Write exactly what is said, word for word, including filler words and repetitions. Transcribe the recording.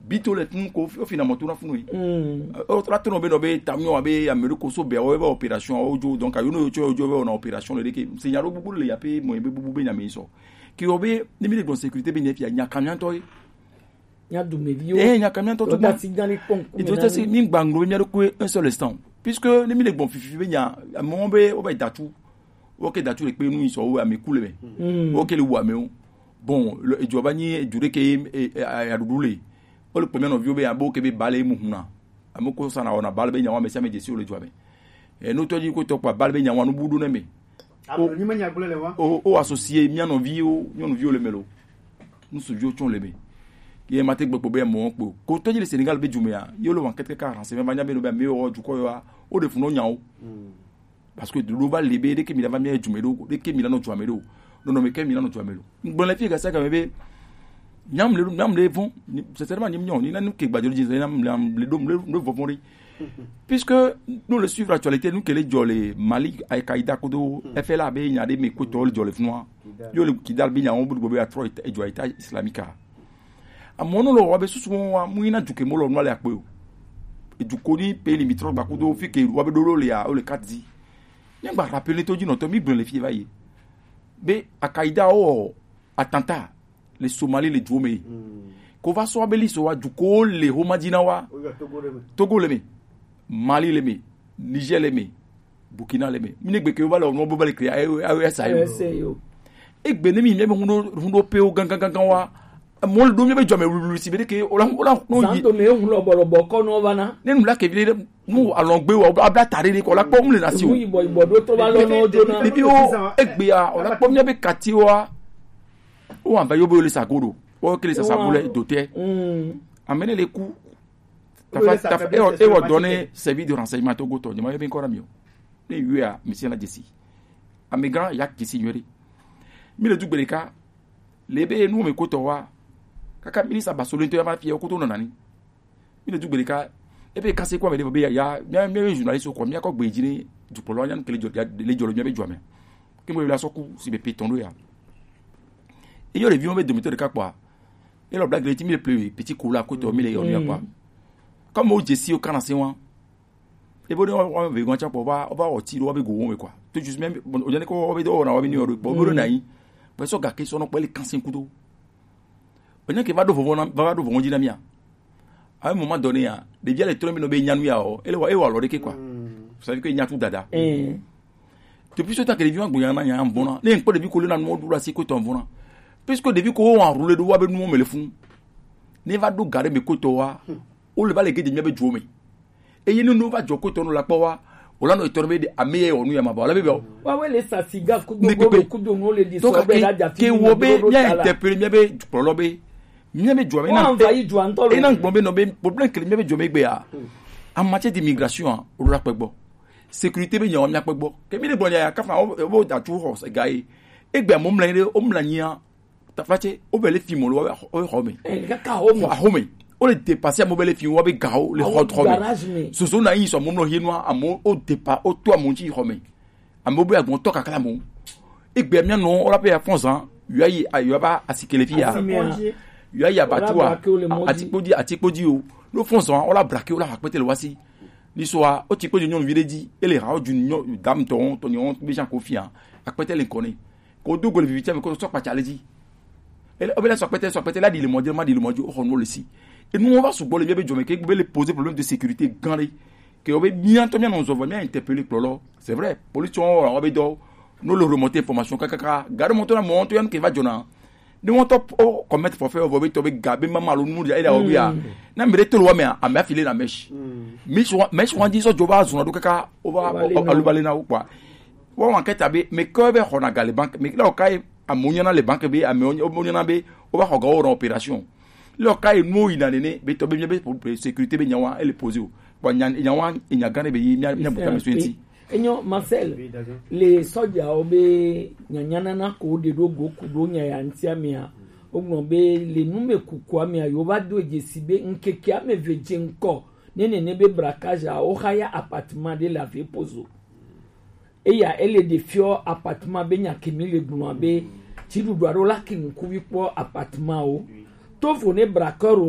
Bito le tun ko o fina moto na funu yi. O tra tono be no be tamio be Ameriko so be o be opération o jo, donc ayo no yo cho jo be na opération le de ke. Se nya ro bubu le ya pe mo be bubu be nya me so. Ki o be ni mi le bon sécurité be ne fi nya kamian to yi. Nya du me vi o. Eh, nya kamian to to. Da si gani pon. E to si ni gbanglo mi ro ko un seul instant. Puisque ni mi le bon fifi be nya mo be o be datu. O ke datu le pe nu so o ame kule be. O ke le wa me o. Bon, le ejo ba ni eju de ke adudu le. O le pe mi no vi o be abo ke be bale mu huna. Amo ko sana ona bale be nya wa me sa me jesi o le jo ame. E no to ji ko to pa bale be nya wa no budu ne me. Abo ni ma nya gble le wa. O o associé mi no vi o, mi no vi o le melo. Nous suivons le me. Ye mate gbogbo be mo po. Ko to ji le Sénégal be jumea. Yo lo wan kete ka renseignement ba nya be no be me o ju ko yo a. O de fu no nya o. Parce que de l'oba lebe de ke mi la va mi jume do, de ke mi la no juame do. Non non, mais ke mi la no juame do. Bon, la fille ça quand même. Nyam le nyam le vont, c'est seulement nyam nyon ni na nu ke gbadjo ji nyam le le dom le le vont. Puisque nous le suivre l'actualité, nous ke le jole Mali, Al-Qaïda kodo, F L A be nya de me ko to le jole fnwa. Yo le Kidal be nya on bu be a Troy e jo État islamique. Amono lo wa be susu wa mu ina juke mo lo no le akpe o. Ejuko ni pe ni mi tro gba kudo fi ke wa be do lo le a o le ka di. Ni gba rappeler to ji no to mi gbon le fi va ye. Be Al-Qaïda o attentat le Somalie le juome. Ko va so abeli so wa juko le ho madina wa. Togo le me. Mali le me. Niger le me. Burkina le me. Mi ne gbe ke o va le o no bo va le créer a sa yo. Egbe ne mi mi be hundo hundo pe o gangan gangan wa. Mo le do mi be jo me lulu si be de ke o la o la no yi. Santo me hun lo bolo boko no va na. Ne nu la ke bi de nu alongbe wa abla tare de ko la po mu le na si o. Mu ibo ibo do to ba lo no jo na. Bibi o egbe a o la po mi be kati wa. O an va yo bo le sagodo. O ke le sa sabule dote. Amene le ku. Tafa tafa e o e o donner service de renseignement to goto. Ni ma yo bin ko ra mi o. Ne yu a mi si na jesi. Amigan ya kisi yori. Mi le du gbele ka. Lebe nu me ko to wa. Kaka ministre ba solo to ya ma fi ko to no nani. Mi le du gbele ka. Ebe ka se ko me le be ya ya mi mi journaliste ko mi ko gbe jini du polo nya ke le jo le jo mi be jo me. Ke mo la so ku si be peton do ya. E yo le vi mo be do mi to de ka pa. E lo blague le ti mi le plus petit ko la ko to mi le yo ni pa. Comme o jesi o kana se wa. E bo de wa ve gon cha po ba o ba o ti lo wa be go won me kwa. To just même o je ne ko wa be do na wa be ni o bo do na yi. Pe so ga ke so no pe le kan sen kudo. O je ke va do vovo na va do vovo ji na mi a. À un moment donné, hein, des vieux les trombi no be nyanu ya o. Ele wa e wa lo de ke kwa. Vous savez que il y a tout dada. Depuis ce temps que les vieux ont gouillé en bon. Ne ko de bi ko le na no du la si ko ton bon. Puisque depuis ko on roule do wa be nu me le fun. Ne va do gare me ko to wa. O le ba le ke de mi be juome. Eye nunu va jɔ ko tɔnu la kpɔ wa. O la nɔ etɔnu be de ame ye ɔnu ya ma ba o la be bɛ o. Wa we le sa siga kudo kudo kudo no le di so be la ja fi ke wo be mi a interpeller mi be kplɔlɔ be mi be jɔ mi na te e na gbɔn be nɔ be problème kele mi be jɔ mi gbe ya. En matière d'immigration, o la kpɛ gbɔ. Sécurité be nya o mi akpɛ gbɔ ke mi de gbɔ nya ya kafa o bo da tu hɔ ga ye. Egbe mo mla ni de o mla nya. Tafatse, o bɛ le fi mɔ lo, o xɔ me. Kaka xɔ mɔ. Xɔ me. O le dépasser amewo be le fi wa be gawo le xɔ xɔ me. Soso na yi sɔ mɔ mlɔ hienua amewo o dépa o to amewo ŋuti xɔ me. Amewo be agbɔn tɔ kakla amewo. Egbe mia nɔ o la pe ya fɔn zan yɔ ayi yɔ ba asikele fi ya. Yɔ ayi abatua atikpodi atikpodi o. N'o fɔn zan o la brake o la akpɛtɛ le wasi. Ni sɔa o tikpodi nyɔnuvi ɖe dzi ele ha o dzu nyɔ dam tɔn tɔn nyɔ be jan ko fia akpɛtɛ le ŋkɔ ne. Ko do gole vivi tse me ko sɔ kpatsa le dzi. Ele obe la sɔ kpɛtɛ sɔ kpɛtɛ la di le mɔdze ma di le mɔdze o xɔ nu le si. Enu wa sugbɔ le mia be jɔme ke be le poser problème de sécurité gan ɖe. Ke obe mia ŋutɔ mia nɔ zɔ vɔ mia interpeller kplɔlɔ. C'est vrai, police tsɔ wa be dɔ no le remonter information kakaka. Garde moto na mɔ ŋutɔ ya nu ke va dzɔna. Ne wọn tɔ o commettre forfait vɔ be tɔ be ga be mama lo nu ya ila obi ya. Na mi de to lo wa me a me afile na mesh. Mesh wa mesh wa di so jo ba zuna do kaka o ba o alu bale na o kwa. Wa wan keta be me ko be xɔ na ga le banque me lo kai amonya na le banque be ame omonya na be o ba xɔ ga o ran opération. Lo kai nu yi na nene be tɔ be mi be sécurité be nyawa ele poser o. Wa nya nyawa nya gane be yi mi mi buta me so enti. Enyo Marcel, le sɔdzawo be nyanyanana ko ɖe ɖo go ku ɖo nya ya ŋutia mea, wogblɔ be le nume kukua mea, yewo va do dzesi be ŋkeke ame eve dze ŋkɔ ne nene be braquage a woxa ya appartement ɖe le Avepozo. Eya ele ɖe fiɔ appartement be nya kemi le gblɔa be tsiɖuɖu aɖewo la ke ŋkuvi kpɔ appartement wo. Tovo ne braqueur wo